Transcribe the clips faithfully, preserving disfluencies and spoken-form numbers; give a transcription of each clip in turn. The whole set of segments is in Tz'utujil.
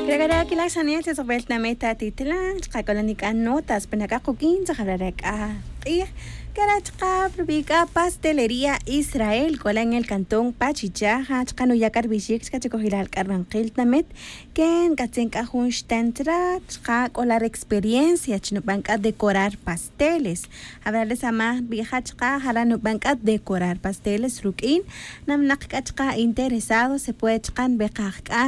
Re' k'a re' akilal xanel chi tz'ojb'el tinamit atitlal chqa' k'ola nik'an notas pe nak'aq quk'in chajab'ra re' k'a q'ij. K'ara' chqa' rubi' k'a pastelería Israel k'ola en el cantón Pachichaja chqa' nuya' k'a rib'ixik chqa' chikojilal k'a rib'anqil tinamit. Ken k'atzin k'a jun xten chra' chqa' k'ola re experiencia chi nub'an k'a decorar pasteles. Jab'ra re' samaj nb'ija' chqa' jara' nub'an k'a decorar pasteles ruk'in namnaq k'a chqa' interesado se puede chqa' nb'eqaj k'a.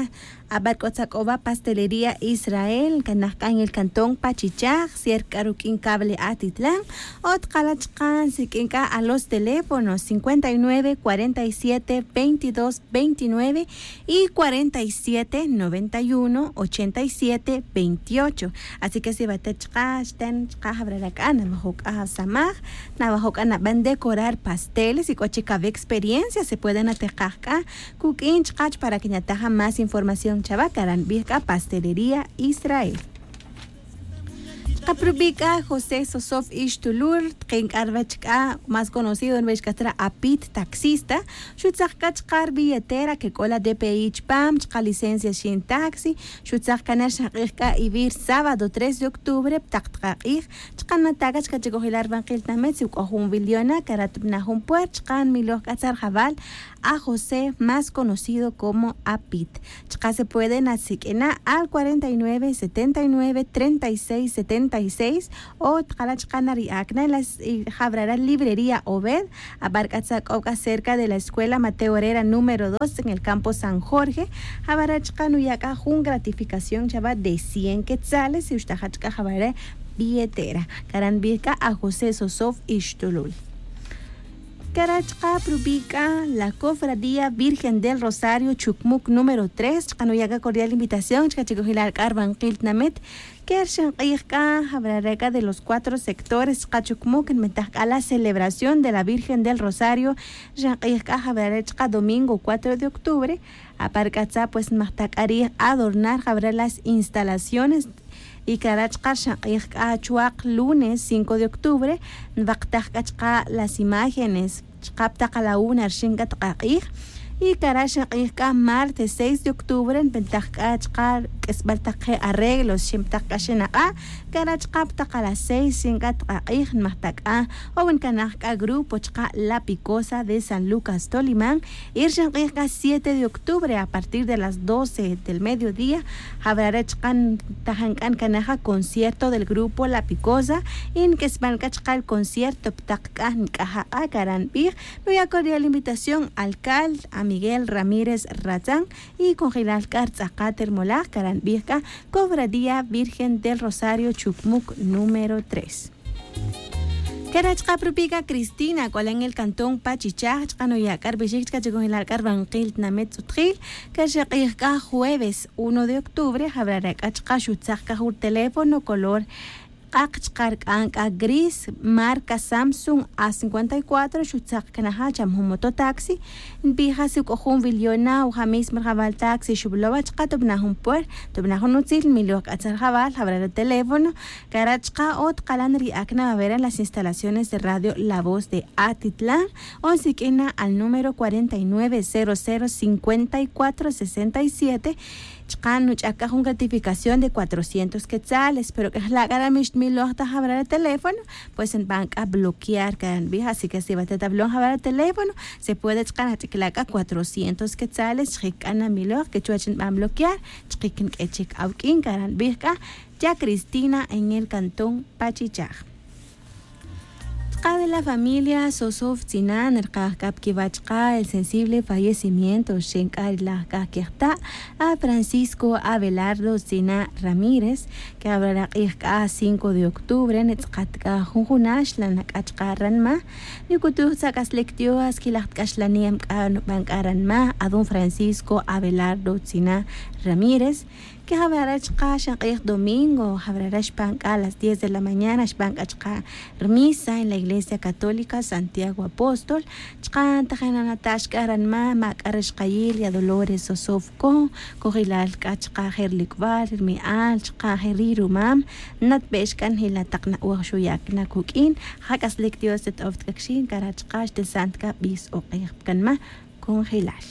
Ab'ar k'o tzak'oba pastelería Israel kanaj k'a en el cantón Pachichaj, cierca k'a ruk'in cable Atitlán. O tqala' chqa' nsik'in k'a a los teléfonos cincuenta y nueve, cuarenta y siete, veintidós, veintinueve y cuarenta y siete, noventa y uno, ochenta y siete, veintiocho. Así que si batet chqa' xten chqa' jab'ra re' k'a nab'ajo' k'a samaj, nab'ajo' k'a nab'an decorar pasteles y k'o chik awe' experiencia se puede nateqaj k'a kuk'in chqach para que nyataj a más información chawa kara' nb'ij k'a pastelería Israel. Chqa' pa rub'i' k'a José Sosof Ixtulul tqin k'a ruwech k'a más conocido nb'ix k'a chra' Apit taxista. Xutzaq k'a chqa' rubilletera que k'o la D P I chpam chqa' licencia xin taxi. Xutzaq k'a na xaq'ij k'a ivir sábado tres de octubre pa taq taq aq'ij. Chqa' nata' k'a chqa' chikojilal rib'anqil tinamit si k'o jun wil yona' kara' tub'ana' jun puerta chqa' nmiloj k'a cha rajawal a José más conocido como Apit. Chqa' se puede nasik'ina' al cuarenta y nueve, setenta y nueve, treinta y seis, setenta y seis. O tqala' chqa' nari'ak na la jab'ra re' librería Obed ab'ar k'a tzak'ob' k'a cerca de la escuela Mateo Herrera número dos en el campo San Jorge. Jab'ra re' chqa' nuya' k'a jun gratificación chawa de cien quetzales y uxtaja' chqa' jab'ra re' billetera kara' nb'ij k'a a José Sosof Ixtulul. Kara' chqa' pa rub'i' k'a la Cofradía Virgen del Rosario Chucmuc número tres chqa' nuya' k'a cordial invitación chqa' chikojilal k'a rib'anqil tinamit. Ke rixin q'ij k'a jab'ra re' k'a de los cuatro sectores chqa' Chucmuc nb'antaj k'a la celebración de la Virgen del Rosario. Rixin q'ij k'a jab'ra re' chqa' domingo cuatro de octubre. Apar k'a tza pues nmajtaj k'a riij adornar jab'ra re' las instalaciones. Y kara' chqa' rixin q'ij k'a chuwaq lunes cinco de octubre nb'aqtaj k'a chqa' las imágenes chqa' pa taq a la una rixin k'a taq aq'ij. Y kara' rixin q'ij k'a martes seis de octubre nb'antaj k'a chqa' k'isb'al taq je' arreglos rixin pa taq k'a xinaq'a'. Kara' chqa' pa taq a las seis rixin k'a taq aq'ij nmajtaj k'a o nkanaj k'a grupo chqa' La Picosa de San Lucas Tolimán. Y rixin q'ij k'a siete de octubre a partir de las doce del mediodía jab'ra re' chqa' ntajan k'a nkanaj a concierto del grupo La Picosa. Y nk'isb'an k'a chqa' el concierto pa taq k'a nk'aj aq'a' kara' nb'ij. Nuya' cordial invitación alcalde a Miguel Ramírez Ratzán y konjilal k'a rtz'aqat rmolaj kara' nb'ij k'a Cofradía Virgen del Rosario Chucmuc número tres. Kara' chqa' pa rub'i' k'a Cristina k'ola en el cantón Pachichaj chqa' nuya' k'a rib'ixik chqa' chikojilal k'a rib'anqil tinamit tz'utjil. Kara' rixin q'ij k'a jueves uno de octubre jab'ra re' k'a chqa' xutzaq k'a jun teléfono color q'aq chqa' rk'an k'a gris marca Samsung A cincuenta y cuatro xutzaq kanaja' cham jun mototaxi. Nb'ija si k'o jun wil yona' o ja' mismo rajawal taxi xub'lowa chqa' tub'ana' jun puerta tub'ana' jun utzil nmiloj k'a cha rajawal jab'ra re' teléfono. Kara' chqa' o tqalan ri'ak na awera las instalaciones de radio La Voz de Atitlán. O nsik'in na al número cuarenta y nueve cero cero cincuenta y cuatro sesenta y siete. Chqa' nuch'ak k'a jun gratificación de cuatrocientos quetzales pero k'ejla' k'a ra' mixtmiloj ta jab'ra re' teléfono. Pues nb'an k'a bloquear k'a nb'ij así que si batet awilon jab'ra re' teléfono se puede chqa' nach'ikla' k'a cuatrocientos quetzales chjik k'a namiloj ke chuwech nb'an bloquear. Chjik nk'e chik awk'in k'a ra' nb'ij k'a ya Cristina en el cantón Pachichaj. Chqa' de la familia Sosof Tzina nrqaj k'a pa kiwa' chqa' el sensible fallecimiento rixin k'a ri laj k'a kejta' a Francisco Abelardo Tzina Ramírez. Ke jab'ra re' q'ij k'a cinco de octubre ntz'aqat k'a jun junax la nak'a chqa' ranma. Nuk'utuj tzak'aslik Dios kilaj k'axlanem k'a nub'an k'a ranma a don Francisco Abelardo Tzina Ramírez. Ke jab'ra re' chqa' xan q'ij domingo jab'ra re' xb'an k'a las diez de la mañana xb'an k'a chqa' rmisa en la iglesia católica Santiago Apóstol. Chqa' ntajin nanatax k'a ranma ma' k'a re' xqayil ya Dolores Sosof Con kojilal k'a chqa' je' rilik'b'al rimi'al chqa' je' ri rumam. Natb'ex k'a njila taq na'oj xuyak na kuk'in. Ja k'aslik Dios tet oft k'a kxin kara' chqa' xtesant k'a b'is oq'ej pa kanma. Congelar.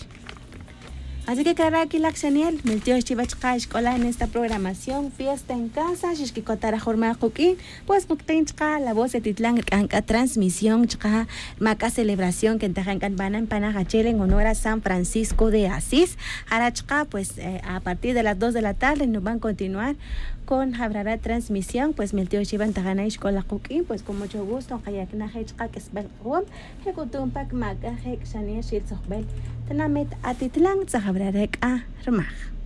Así que cara' quilak xaniel miltiox chiva chaka' xc'ola en esta programación fiesta en casa xixquicota ra jurma quk'in. Pues quk'in chaka' la voz de titlan rc'an c'a transmisión chaka' rma c'a celebración que ntajan c'a nbanan panaj achel en honor a san francisco de asís. Jara' chaka' pues a partir de las dos de la tarde nuban continuar con jabrara' transmisión. Pues miltiox chiva ntajan na xc'ola quk'in pues con mucho gusto nkayacnaj je' chaka' q'uisbel q'uom. Je' c'utum pac mac'a je' c'a xaniel xil tzojbel tanamet atitlan tzajabra re c'a rmaj.